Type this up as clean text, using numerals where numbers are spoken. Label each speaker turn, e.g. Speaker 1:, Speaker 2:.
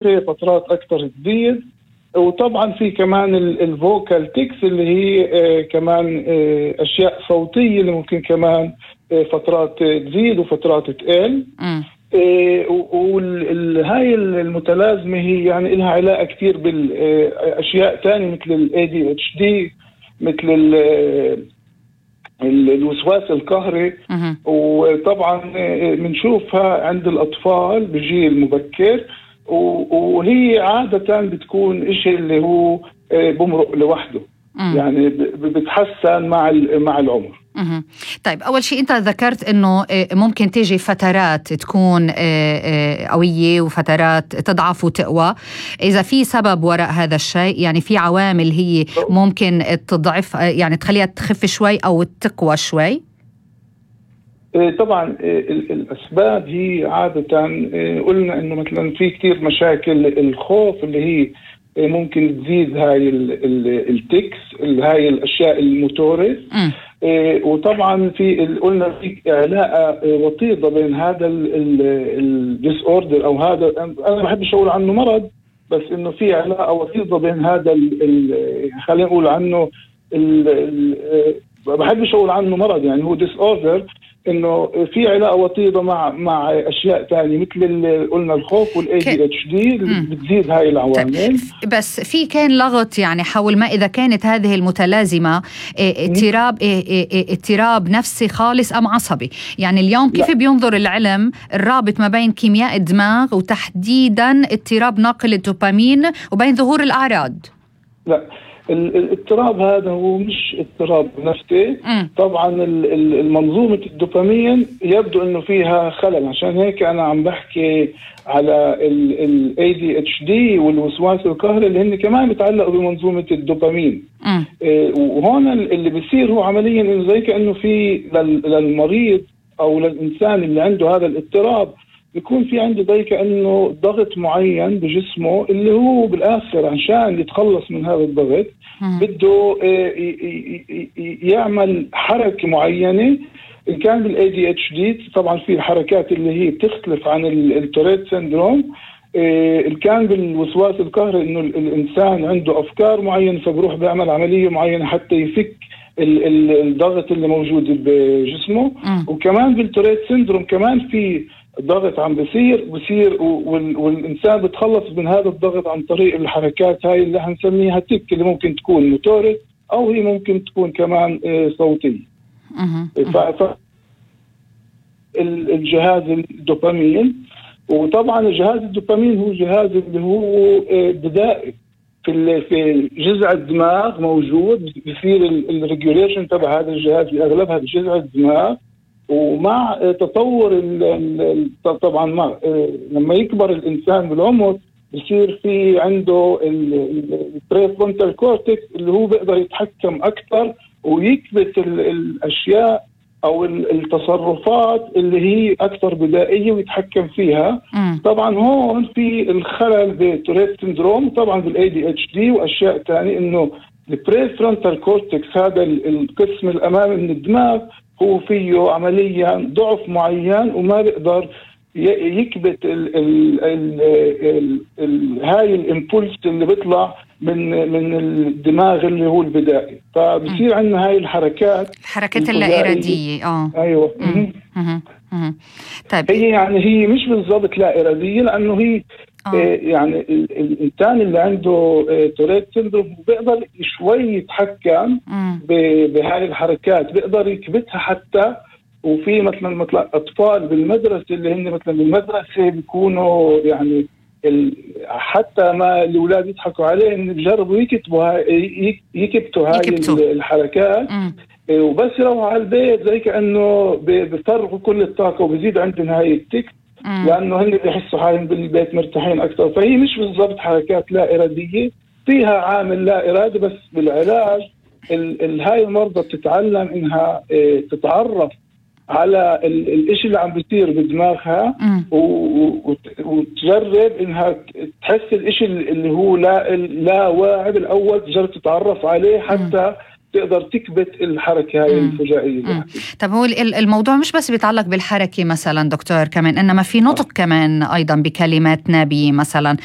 Speaker 1: فترات أكثر تزيد. وطبعا في كمان الفوكال تيكس اللي هي كمان أشياء صوتية اللي ممكن كمان فترات تزيد وفترات تقل. وهاي المتلازمة هي يعني لها علاقة كثير بالأشياء تانية مثل ال ADHD، مثل الوسواس القهري. وطبعا بنشوفها عند الأطفال بجيل مبكر، وهي عادة بتكون إشي اللي هو بمرق لوحده. يعني بتحسن مع العمر.
Speaker 2: طيب، أول شيء أنت ذكرت أنه ممكن تيجي فترات تكون قوية وفترات تضعف وتقوى. إذا في سبب وراء هذا الشيء، يعني في عوامل هي ممكن تضعف، يعني تخليها تخف شوي أو تقوى شوي؟
Speaker 1: طبعا الأسباب هي عادة قلنا أنه مثلا في كتير مشاكل الخوف اللي هي ممكن تزيد هاي التكس، هاي الأشياء الموتورة. وطبعا قلنا في علاقة وطيدة بين هذا الديس اوردر او هذا، انا ما بحبش اقول عنه مرض، بس انه في علاقة وطيدة بين هذا خلينا نقول عنه ما بحبش اقول عنه مرض، يعني هو ديس اوردر، انه في علاقة وطيدة مع اشياء ثانية مثل قلنا الخوف والADHD بتزيد هاي العوامل.
Speaker 2: بس في كان لغط يعني حول ما اذا كانت هذه المتلازمة اضطراب نفسي خالص ام عصبي. يعني اليوم كيف بينظر العلم الرابط ما بين كيمياء الدماغ وتحديدا اضطراب ناقل الدوبامين وبين ظهور الاعراض؟
Speaker 1: لا، الاضطراب هذا هو مش اضطراب نفسي. طبعا المنظومة الدوبامين يبدو انه فيها خلل، عشان هيك انا عم بحكي على ال ADHD والوسواس القهري اللي هن كمان بيتعلقوا بمنظومة الدوبامين. وهون اللي بيصير هو عمليا انه زي كأنه في للمريض او للانسان اللي عنده هذا الاضطراب بيكون في عنده زي كأنه ضغط معين بجسمه، اللي هو بالآخر عشان يتخلص من هذا الضغط بده يعمل حركة معينة. إن كان بالADHD طبعا في الحركات اللي هي بتختلف عن التوريت سيندروم. إن كان بالوسواس القهري إنه الإنسان عنده أفكار معينة فبروح بيعمل عملية معينة حتى يفك الضغط اللي موجود بجسمه. وكمان بالتوريت سيندروم كمان في ضغط عم بصير والإنسان بتخلص من هذا الضغط عن طريق الحركات هاي اللي هنسميها تك، اللي ممكن تكون موتورة أو هي ممكن تكون كمان صوتية. الجهاز الدوبامين، وطبعا الجهاز الدوبامين هو جهاز اللي هو بدائي في جذع الدماغ موجود، بيصير الريجوليشن تبع هذا الجهاز بأغلبها بجذع الدماغ. ومع تطور طبعا لما يكبر الإنسان بالعمر بصير في عنده البريفرونتال كورتكس اللي هو بيقدر يتحكم أكثر ويكبت الأشياء أو التصرفات اللي هي أكثر بدائية ويتحكم فيها. طبعا هون في الخلل بتوريت سيندروم، طبعا بالADHD وأشياء تانية، إنه البريفرونتال كورتكس هذا القسم الأمامي من الدماغ هو فيه عمليا ضعف معين وما بيقدر يكبت هاي الامبولس اللي بيطلع من الدماغ اللي هو البدائي. فبصير عندنا هاي الحركات
Speaker 2: اللا إرادية.
Speaker 1: ايوه.
Speaker 2: طيب،
Speaker 1: هي مش بالضبط لا إرادية، لأنه هي يعني الإنسان اللي عنده توريت سيندروم بيقدر شوي يتحكم بهاي الحركات، بيقدر يكبتها حتى. وفي مثلا أطفال بالمدرسة اللي هن مثلا بالمدرسة بيكونوا يعني حتى ما الأولاد يضحكوا عليه إن بيجربوا يكبتوا هاي الحركات. وبس يروحوا على البيت زي كأنه بيفرغوا كل الطاقة وبزيد عندهم هاي التك، لأنه هن بيحسوا حالهم بالبيت مرتاحين أكثر. فهي مش بالضبط حركات لا إرادية، فيها عامل لا إرادي. بس بالعلاج هاي المرضى بتتعلم إنها تتعرف على الاشي اللي عم بيصير بدماغها وتجرب إنها تحس الاشي اللي هو لا واعي بالأول، تجرب تتعرف عليه حتى تقدر تكبت الحركة هاي الفجائية.
Speaker 2: طب هو الموضوع مش بس بيتعلق بالحركة مثلا دكتور كمان، إنما في نطق كمان أيضا بكلمات نبي مثلا